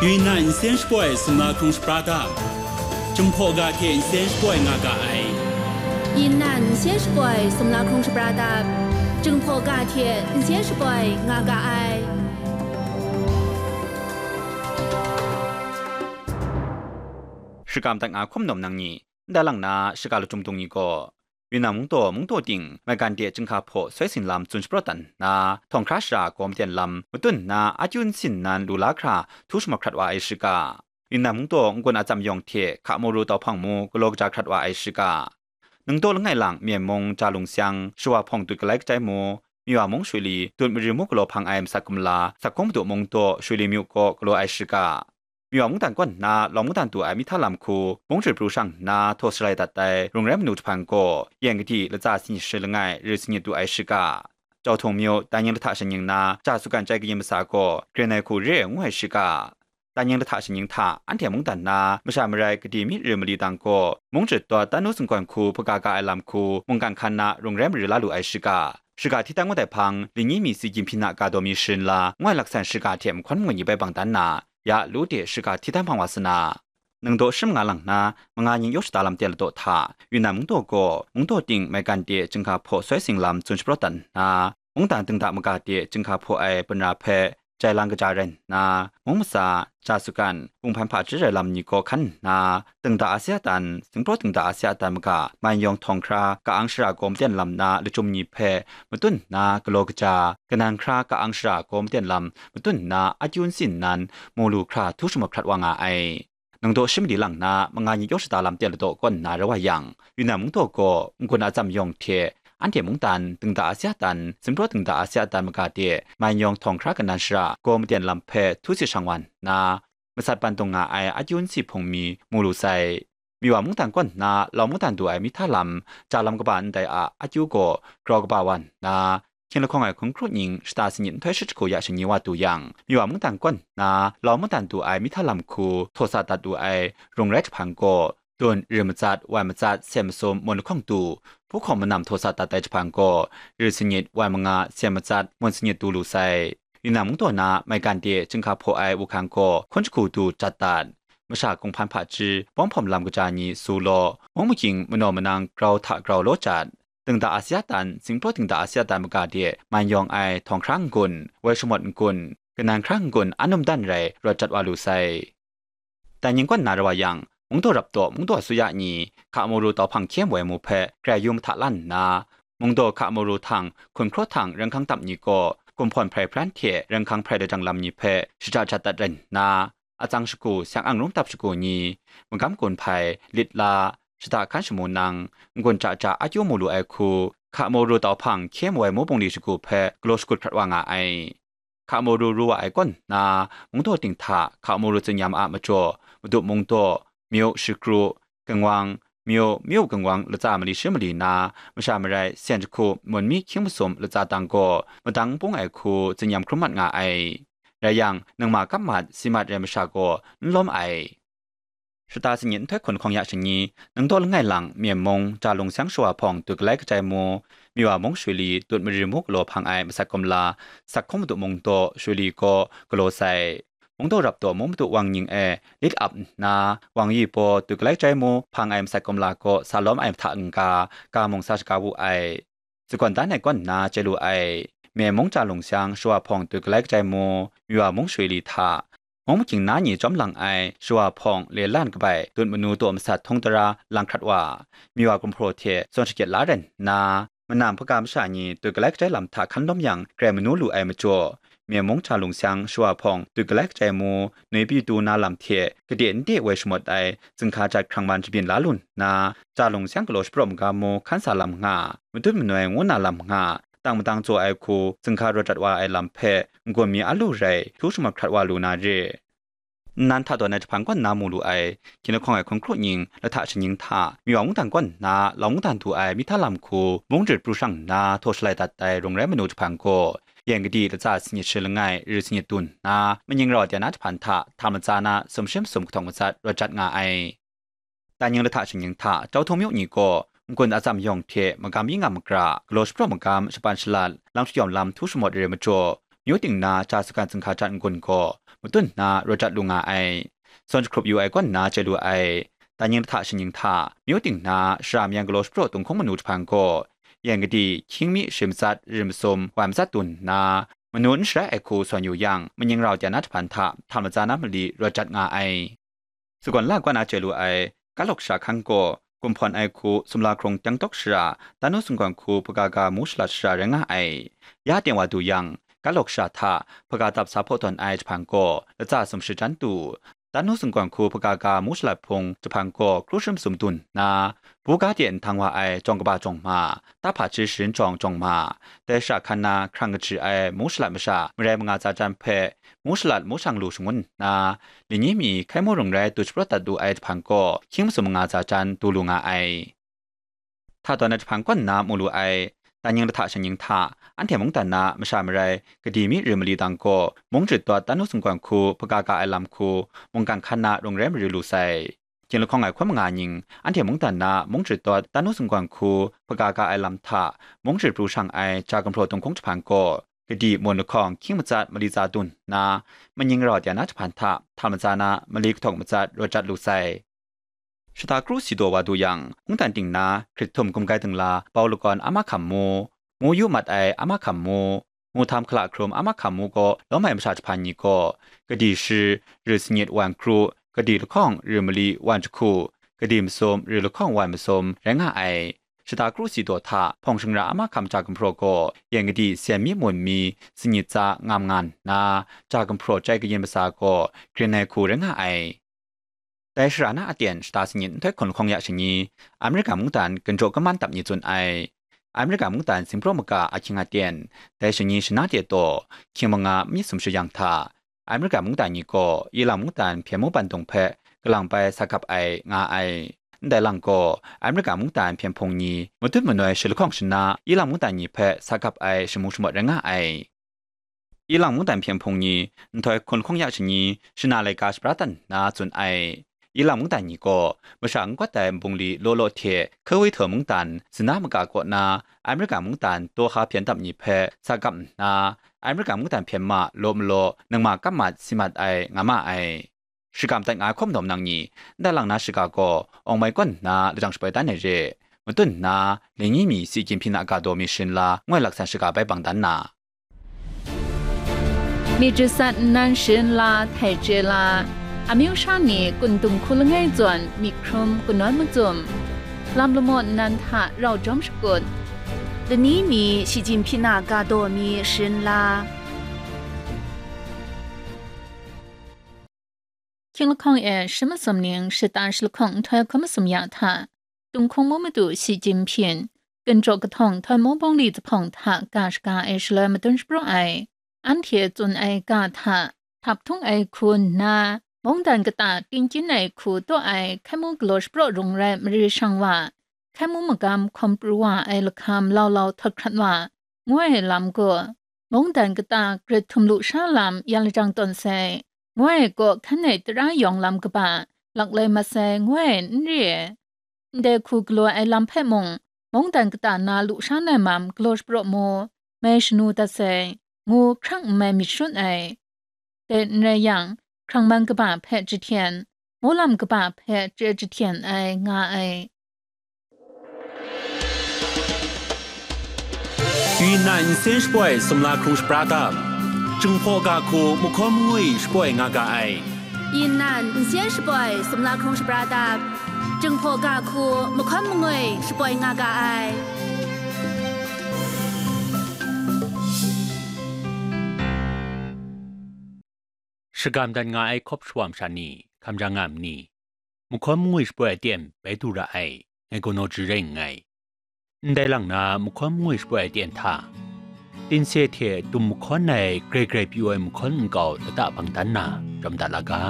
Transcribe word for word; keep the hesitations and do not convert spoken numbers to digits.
Yunnan nsen shapoi sumla hkrung shapra dap, Jinghpaw ga hte nsen shapoi nga ga ai. Yunnan nsen shapoi sumla hkrung shapra dap, Jinghpaw ga hte nsen shapoi nga ga ai. Shakam dat nga hkum nawm nang ni, ndai lang na, shaka lachyum dung ni gaw, Yunnan mungdaw, mungdaw ting maigan de chyinghka hpaw soi sing lam tsun shapraw dat nna, htawng hkra shara gaw maten lam matun nna, akyu nsin nan lu la hkra htu shamawt hkrat wa ai shiga, Yunnan mungdaw n-gun atsam yawng hte hka maru tau hpang mu galaw kaja hkrat wa ai shiga, ningdaw langai lang Myen mung, Ja lung syang, Shawa hpawng dut galai kajai mu, Miwa mung Shuli, dut mari mu galaw hpang ai masat kumla, Sakung madu mungdaw, Shuli myu kaw galaw ai shiga, Miwa mungdan kaw nna lawng mungdan du ai mihta lam hku mung jarit pru shang nna htaw shalai dat ai rung rai manu jahpan gaw, yen kadi latsa sanit shi langai rit sanit du ai shiga, Jauhtung myu, Danying lahta shaning na, Ja Sukan chyai kayin masa gaw, gren ai hku re ai ngu ai shiga, Danying lahta shaning hta anhte mungdan na masha marai kadi mi rit mali dang gaw, mung jarit dawt Tanu singgawn hku hpaga ga ai lam hku mungkan hkan na rung rai mari la lu ai shiga, shiga hti dan ngut ai hpang, Linyi mi si gyim hpyi na ga daw mi sharin la, ngoi laksan shiga hte mahkawn mangwi ni bai bang dan na, ya lu de shiga hti dan hpang wa sa na, ningdaw shi manga lang na, manga ning yawk shada lam ten ladaw hta, Yunnan mungdaw gaw, mungdaw ting maigan de chyinghka hpaw soi sing lam tsun shapraw dat nna, mungdan dingda maga de chyinghka hpaw ai banra hpe jai lang kaja rai nna, mung masa, Ja Sukan, Kung hpan hpaji rai lam ni gaw hkan nna, dingda Asia dan, singpraw dingda Asia dan maga, man yawng htawng hkra ka-ang shara gaw maten lam na lachyum ni hpe matun nna galaw kaja, kanan hkra ka-ang shara gaw maten lam matun nna akyu nsin nan mu lu hkra htu shamawt hkrat wa nga ai. Ningdaw shi mali lang na, manga ning yawk shada lam ten ladaw kaw nna rai wa yang, Yunnan mungdaw gaw n-gun atsam yawng hte, anhte mungdan, dingda Asia dan, singpraw dingda Asia dan maga de, man yawng htawng hkra kanan shara gaw maten lam hpe htu si shang wa nna, masat ban dung nga ai akyu nsi hpung mi mu lu sai. Miwa mungdan kaw nna lawng mungdan du ai mihta lam, ja lam kaba ndai a akyu gaw grau kaba wa nna, hkying lahkawng ai hkun hkru ning shata sanit nhtoi shi jahku ya shani wa du yang, Miwa mungdan kaw nna lawng mungdan du ai mihta lam hku htaw sa dat lu ai rung rai jahpan gaw, dun, rit matsat, wai matsat, sen masum, mun lahkawng du, hpu hkawng manam htaw sa dat ai jahpan gaw, rit sanit, wai manga, sen matsat, mun sanit du lu sai. Yunnan mungdaw na maigan de chyinghka hpaw ai wuhkan gaw hkun jahku du jat dat. Masha Kung hpan hpaji, bawng hpawm lam kaja ni su law, mung magying manaw manang grau hta grau law jat. Dingda Asia dan, singpraw dingda Asia dan maga de man yawng ai htawng hkra n-gun, woi shamawt n-gun, kanan hkra n-gun, an num dan rai rawt jat wa lu sai. Danying kaw nna rai wa yang, mungdaw rap daw mungdaw asuya ni, hka maru tau hpang hkye woi mu hpe grai yu mahta lan nna, mungdaw hka maru htang, hkun hkraw htang, ringhkang tap ni gaw, kumhpawn hprai hpran hte ringhkang hprai lajang lam ni hpe shaja jat dat rai nna, atsang shagu, syang ang rung tap shagu ni, magam gun hpai, lit la, shada hkan shamu nang, n-gun ja ja akyu mu lu ai hku, hka maru tau hpang hkye woi mu bungli shagu hpe galaw shakut hkrat wa nga ai. Hka maru ru wa ai kaw nna, mungdaw ting hta hka maru tsinyam a majaw, Madu mungdaw, Myu, Shikru, Kangwang, Myu, Myu Kangwang latsa mali shi mali na, masha marai sen jahku, mun mi hkying masum latsa dang gaw, madang n pung ai hku tsinyam hkrum mat nga ai. Rai yang, ningma kap mat, si mat rai masha gaw n lawm ai. Shata sanit nhtoi hkun hkawng ya shani, ningdaw langai lang Myen mung, Ja lung syang Shawa hpawng dut galai kajai mu, Miwa mung Shuli, dut mari mu galaw hpang ai masat kumla, Sakhung madu mungdaw, Shuli gaw galaw sai. Mungdaw rap daw mung madu wang ning e lit ap nna, wang yi baw dut galai kajai mu hpang ai masat kumla gaw sa lawm ai mahta n-ga, ga mung sa shaga wu ai. Sagawn dan ai kaw nna chye lu ai. Myen mung, Ja lung syang, Shawa hpawng dut galai kajai mu, Miwa mung Shuli hta, mung magying na ni chyawm lang ai Shawa hpawng le lan kabai dut manu daw masat htung tara lang hkrat wa, Miwa gumhpraw hte zawn shakyet la rai nna, manam hpaga masha ni dut galai kajai lam hta hkan lawm yang grai manu lu ai majaw, Myen mung, Ja lung syang, Shawa hpawng dut galai kajai mu, nui pyi du na lam hte kade nde woi shamawt ai zinghka jat hkrang man shabyin la lu nna, Ja lung syang galaw shapraw magam mu hkan sa lam nga, madun manoi ngu na lam nga, tang madang jaw ai hku zinghka rawt dat wa ai lam hpe n-gun mi a lu rai htu shamawt hkrat wa lu na re. Nnan hta dawn ai jahpan kaw nna mu lu ai, hkying lahkawng ai hkun hkru ning, lahta shaning hta, Miwa mungdan kaw nna lawng mungdan du ai mihta lam hku mung jarit pru shang nna htaw shalai dat ai rung rai manu jahpan gaw, yen kadi latsa sanit shi langai rit sanit du nna, maning rau de na jahpan hta hta matsa na sumshi masum kahtawng matsat rawt jat nga ai. Danying lahta shaning hta, Jauhtung myu ni gaw, n-gun atsam yawng hte magam yi nga magra, galaw shapraw magam, shapan shalat, lam shayawm lam htu shamawt re majaw, myu ting na Ja Sukan zinghka jat n-gun gaw, matun nna rawt dat lu nga ai. Zawn jahkrup yu ai kaw nna chye lu ai, danying lahta shanying hta, myu ting na shara mayang galaw shapraw tung hkung manu jahpang gaw, yan kadi, hkying mi, shi matsat, rim masum, wan matsat dun nna, manu n sharai ai hku sawn yu yang, manying rau tya na jahpan hta hta matsa na mali rawt jat nga ai. Sagawn la kaw na chye lu ai, Kalok Sha hkan gaw, gumhpawn ai hku, sumla hkrung teng tawk shara, Tanu Sunggawn hku hpaga ga mu shalat shara rai nga ai. Ya teng wa du yang, Kalok Sha hta hpaga dap sa hpaw tawn ai jahpang gaw, latsa sum shachyan tu, Tanu Sunggawn hku hpaga ga mu shalat hpung jahpang gaw, kru shum sum dun nna, buga de nhtang wa ai jawng kaba jawng ma, tahpa hti sharin jawng jawng ma, dai shara hkan na hkrang kaji ai mu shalat masha marai manga tsa jan hpe, mu shalat mu shang lu shangun nna, lani mi hkai mu rung rai du shapraw dat lu ai jahpang gaw, hkying masum manga tsa jan du lu nga ai. Hta tawn ai jahpang kaw nna mu lu ai, danying lahta shanying hta, anhte mungdan na masha marai, kadi mi rim mali dang gaw, mung jut dawt Tanu Sunggawn hku hpaga ga ai lam hku, mungkan hkan na rung rai maru lu sai. Hkying lahkawng ai hkun manga ning, anhte mungdan na mung jut dawt Tanu Sunggawn hku hpaga ga ai lam hta, mung jut pru shang ai ja gumhpraw tung hkung jahpang gaw, kadi mawn lahkawng hkying matsat mali tsa dun nna, manying rau tya na jahpan hta hta matsa na mali kahtawk matsat rawt jat lu sai. Shata kru si daw wa du yang, mungdan ting na hkrit htum gumgai dingla bau lagawn a mahkam mu, mu yu mat ai a mahkam mu, mu htam hkala hkrum a mahkam mu gaw lawm ai masha jahpan ni gaw, kadi shi, ri sanyit wan kru, kadi lahkawng ri mali wan jahku, kadi masum ri lahkawng wan masum rai nga ai. Shata kru si daw hta hpawng shingra a mahkam ja gumhpraw gaw, yan kadi sen mi mun mi sanyit tsa ngam nga nna, ja gumhpraw chyai kayin matsa gaw grin ai hku rai nga ai. Dai shara na aten shata sanyit nhtoi hkun lahkawng ya shani, Amerika mungdan ginjaw kaman dap ni tsun ai. Amerika mungdan singpraw maga ahkying aten, dai shani shana de taw, hkying manga myit sumshi yang hta, Amerika mungdan ni gaw Ilang mungdan hpyen mu bandung hpe kalang bai sa gap ai nga ai. Ndai lang gaw, Amerika mungdan hpyen hpung ni matut manoi shi lahkawng shana Ilang mungdan ni hpe sa gap ai shamu shamawt rai nga ai. Ilang mungdan hpyen hpung ni nhtoi hkun lahkawng ya shani shana laika shabra dat nna tsun ai. Ilang mungdan ni gaw masha n gawt ai nbungli law law hte Kawithon mungdan zina maga kaw na Amerika mungdan daw ha hpyen dap ni hpe sa gap nna, Amerika mungdan hpyen ma law malaw nangma kap mat si mat ai nga ma ai. Shagam dat nga ai hkawm dawm nang ni, ndai lang na shiga gaw, awng mai kawn nna lajang shapoi dan ai re, matun nna, lani mi si Jinping a ga daw mi sharin la, ngoi laksan shiga bai bang dan na. Myit jasat nnan sharin la, htai chye la, amyu sha ni kun dung hku langai zawn myit hkrum kanawn macum, lam lamaw nnan hta rau jawm shakut, lani mi shi Jinping a ga daw mi sharin la. Hkying lahkawng e shi masum ning shata shi lahkawng nhtoi hkun masum ya hta, Tung hkung mu madu shi Jinping, ginjaw kahtawng htoi mu bawngli zuphpawng hta ga shaga ai shaloi madun shapraw ai, anhte tsun ai ga hta, htap htung ai hku nna, mungdan kata tingkyin ai hku taw ai hkai mu galaw shapraw rung rai mari shang wa, hkai mu magam hkawm pru wa ai lahkam lau lau htawt hkrat wa, ngu ai lam gaw, mungdan kata grit htum lu sha lam yan lajang tawn sai, ngu ai kaw hkan ai tara yawng lam kaba, laklai mat sai, ngu ai n re ai. Ndai hku galaw ai lam hpe mung, mungdan kata na lu sha na mam galaw shapraw mu, mai shanu dat sai, ngu hkrang n mai myit shut ai. Dai n rai yang, hkrang man kaba hpe jahten, molam kaba hpe chye jahten ai nga ai. Yunnan nsen shapoi sumla hkrung shapra dap, Jinghpaw ga hku mahkawn mangwi shapoi nga ga ai. Yunnan nsen shapoi sumla hkrung shapra dap, Jinghpaw ga hku mahkawn mangwi shapoi nga ga ai. Shagam dat nga ai hkawp shawa masha ni, hkam jang nga ma ni? Mahkawn mangwi shapoi aten bai du ra ai, ngai gaw naw jari rai nngai. Ndai lang na mahkawn mangwi shapoi aten hta, tinse hte dum mahkawn ai grai grai pyi ai mahkawn nkau lata bang dan na, jawm dat la ga.